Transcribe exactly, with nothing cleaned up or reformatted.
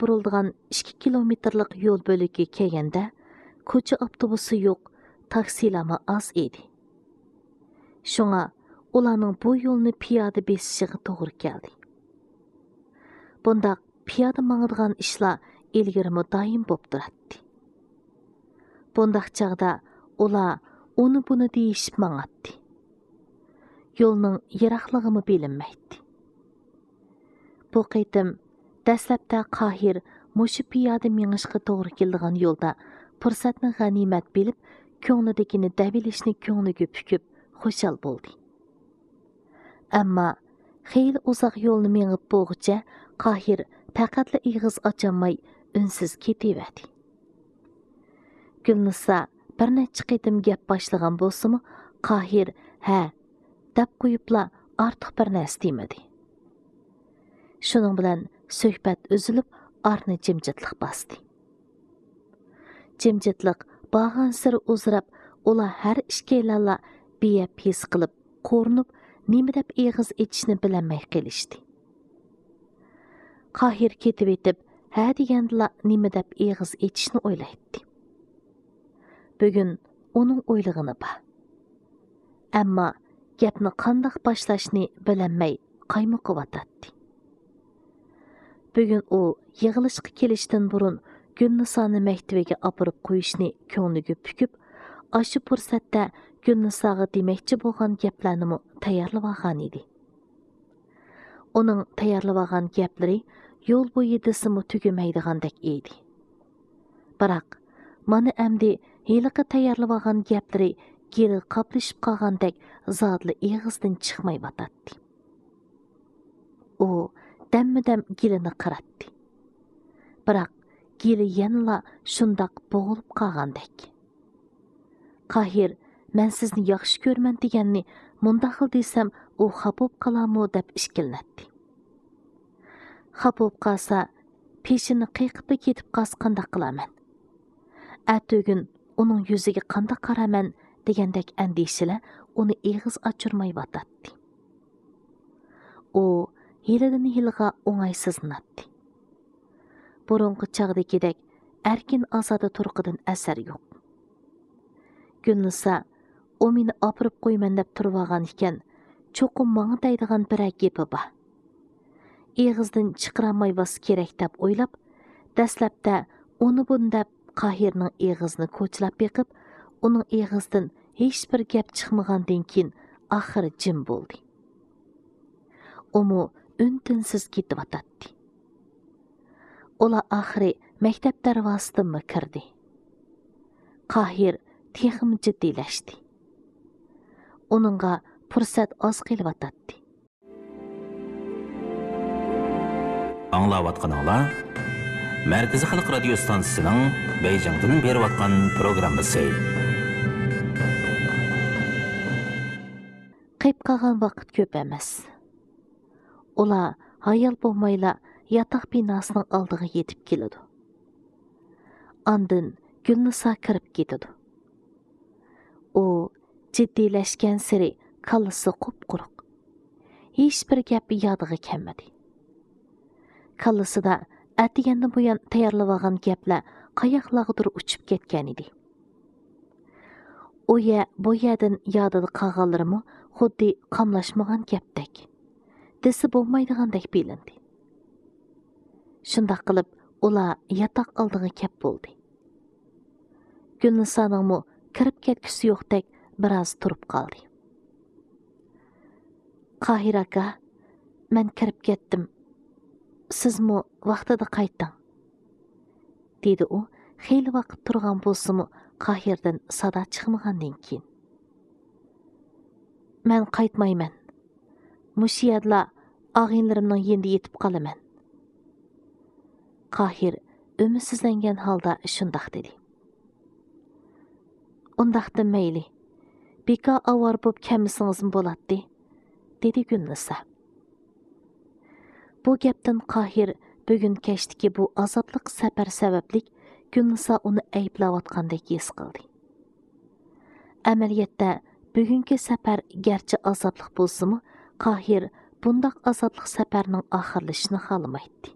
بۇرۇلىدىغان ئىككى كىلومېتىرلىق يول بۆلىكىگە كەلگەندە، كوچا ئاپتوبۇسى يوق، تاكسىلارمۇ ئاز ئىدى. شۇڭا ئۇلارنىڭ بۇ يولنى پىيادە بېسىشىغا توغرا كەلدى. بۇنداق پىيادە ماڭىدىغان ئىشلار ئىلگىرىمۇ دائىم بولۇپ تۇراتتى. بۇنداق چاغدا ئۇلار ئۇنى-بۇنى دېيىشىپ ماڭاتتى. يولنىڭ يىراقلىقىمۇ بىلىنمەيتتى. بۇ قېتىم دەسلەپتە قاھىر مۇشۇ پىيادە مېڭىشقا توغرا كېلىدىغان يولدا پۇرسەتنى غەنىيمەت بىلىپ، كۆڭلىدىكىنى دەۋېلىشنى كۆڭلىگە پۈكۈپ، خۇشال بولدى. ئەمما خېلى ئۇزاق يولنى مېڭىپ بولغۇچە قاھىر پەقەتلا ئېغىز ئاچالماي ئۈنسىز كېتىۋەردى. گۈلنىسا بىر نەچچە قېتىم گەپ باشلىغان بولسىمۇ، قاھىر «ھە» دەپ قويۇپلا ئارتۇق بىر نەرسە دېمىدى. شۇنىڭ بىلەن سۆھبەت ئۈزۈلۈپ، ئارىنى جىمجىتلىق باستى. جىمجىتلىق بارغانسېرى ئۇزىراپ، ئۇلار ھەر ئىككىيلەنلا بىيەپ ھېس قىلىپ، قورۇنۇپ، نېمە دەپ ئېغىز ئېچىشنى بىلەلمەي قېلىشتى. قاھىر كېتىۋېتىپ، ھە دېگەندىلا نېمە دەپ ئېغىز ئېچىشنى ئويلايتتى. بۈگۈن ئۇنىڭ ئويلىغىنى بار. ئەمما گەپنى قانداق باشلاشنى بىلەلمەي قايمۇقۇۋاتاتتى. بۈگۈن ئۇ يىغىلىشقا كېلىشتىن بۇرۇن گۈلنىسانى مەكتىۋىگە ئاپىرىپ قويۇشنى كۆڭلىگە پۈكۈپ، ئاشۇ پۇرسەتتە گۈلنىساغا دېمەكچى بولغان گەپلەرنىمۇ تەييارلىۋالغانىدى. ئۇنىڭ تەييارلىۋالغان گەپلىرى يول بويى دېسىمۇ تۈگىمەيدىغاندەك ئىدى. بىراق، مانا ئەمدى ھېلىقى تەييارلىۋالغان گەپلىرى گېلىگە قاپلىشىپ قالغاندەك زادىلا ئېغىزدىن چىقمايۋاتاتتى. ئۇ دەممۇدەم گېلىنى قىراتتى. بىراق، گېلى يەنىلا شۇنداق بوغۇلۇپ قالغاندەك. قاھىر «مەن سىزنى ياخشى كۆرىمەن» دېگەننى مۇنداق خىل دېسەم، ئۇ خاپا بولۇپ قالارمۇ دەپ ئىككىلىنەتتى. خاپا بولۇپ قالسا، پېشىنى قېقىپلا كېتىپ قالسا قانداق قىلارمەن؟ ئەتىگۈن ئۇنىڭ يۈزىگە قانداق قارارمەن دېگەندەك ئەندىشىلەر ئۇنى ئېغىز ئاچۇرمايۋاتاتتى. ئۇ ھېلىدىن ھېلىغا ئوڭايسىزلىناتتى. بۇرۇنقى چاغدىكىدەك ئەركىن ئازادە تۇرقىدىن ئەسەر يوق. گۈلنىسا، ئۇ مېنى ئاپىرىپ قويىمەن دەپ تۇرۇۋالغان ئىكەن، چوقۇم ماڭا دەيدىغان بىرەر گېپى بار. ئېغىزدىن چىقىرالمايۋاتسا كېرەك دەپ ئويلاپ، دەسلەپتە ئۇنى-بۇنى دەپ قاھىرنىڭ ئېغىزىنى كوچىلاپ بېقىپ، ئۇنىڭ ئېغىزىدىن ھېچبىر گەپ چىقمىغاندىن كېيىن، ئاخىرى جىم بولدى. ئۇمۇ ئۈن-تىنسىز كېتىۋاتاتتى. ئۇلار ئاخىرى مەكتەپ دەرۋازىسىدىنمۇ كىردى. قاھىر تېخىمۇ جىددىيلەشتى. ئۇنىڭغا پۇرسەت ئاز قېلىۋاتاتتى. ئاڭلاۋاتقىنىڭلار مەركىزىي خەلق رادىيو ستانسىسىنىڭ بېيجىڭدىن بېرىۋاتقان پروگراممىسى. قېلىپ قالغان ۋاقىت كۆپ ئەمەس. ئۇلار ھايال بولمايلا ياتاق بىناسىنىڭ ئالدىغا يېتىپ كېلىدۇ. ئاندىن گۈلنىسا كىرىپ كېتىدۇ. ئۇ جىددىيلەشكەنسېرى كاللىسى قۇپقۇرۇق. ھېچبىر گەپ يادىغا كەلمىدى. كاللىسىدا ئەتىگەندىن بۇيان تەييارلىۋالغان گەپلەر قاياقلارغىدۇر ئۇچۇپ كەتكەنىدى. ئۇ يەر، بۇ يەردىن يادىدا قالغانلىرىمۇ خۇددى قاملاشمىغان گەپتەك، دېسە بولمايدىغاندەك بىلىندى. شۇنداق قىلىپ، ئۇلار ياتاق ئالدىغا كەپ بولدى. گۈلنىسانىڭمۇ كىرىپ كەتكۈسى يوقتەك بىراز تۇرۇپ قالدى. قاھىر ئاكا، مەن كىرىپ كەتتىم. سىزمۇ ۋاقتىدا قايتىڭ، دېدى ئۇ خېلى ۋاقىت تۇرغان بولسىمۇ، قاھىردىن سادا چىقمىغاندىن كېيىن. مەن قايتمايمەن. مۇشۇ يەردىلا ئاغىنىلىرىمنىڭ يېنىدا يېتىپ قالىمەن. قاھىر ئۈمىدسىزلەنگەن ھالدا شۇنداق دېدى. ئۇنداقتا مەيلى، بىكار ئاۋارە بولۇپ كەلمىسىڭىزمۇ بولاتتى، دېدى گۈلنىسا. بۇ گەپتىن قاھىر بۈگۈن كەچتىكى بۇ ئازابلىق سەپەر سەۋەبلىك گۈلنىسا ئۇنى ئەيىبلەۋاتقاندەك ھېس قىلدى. ئەمەلىيەتتە، بۈگۈنكى سەپەر گەرچە ئازابلىق بولسىمۇ، قاھىر بۇنداق ئازابلىق سەپەرنىڭ ئاخىرلىشىشىنى خالىمايتتى.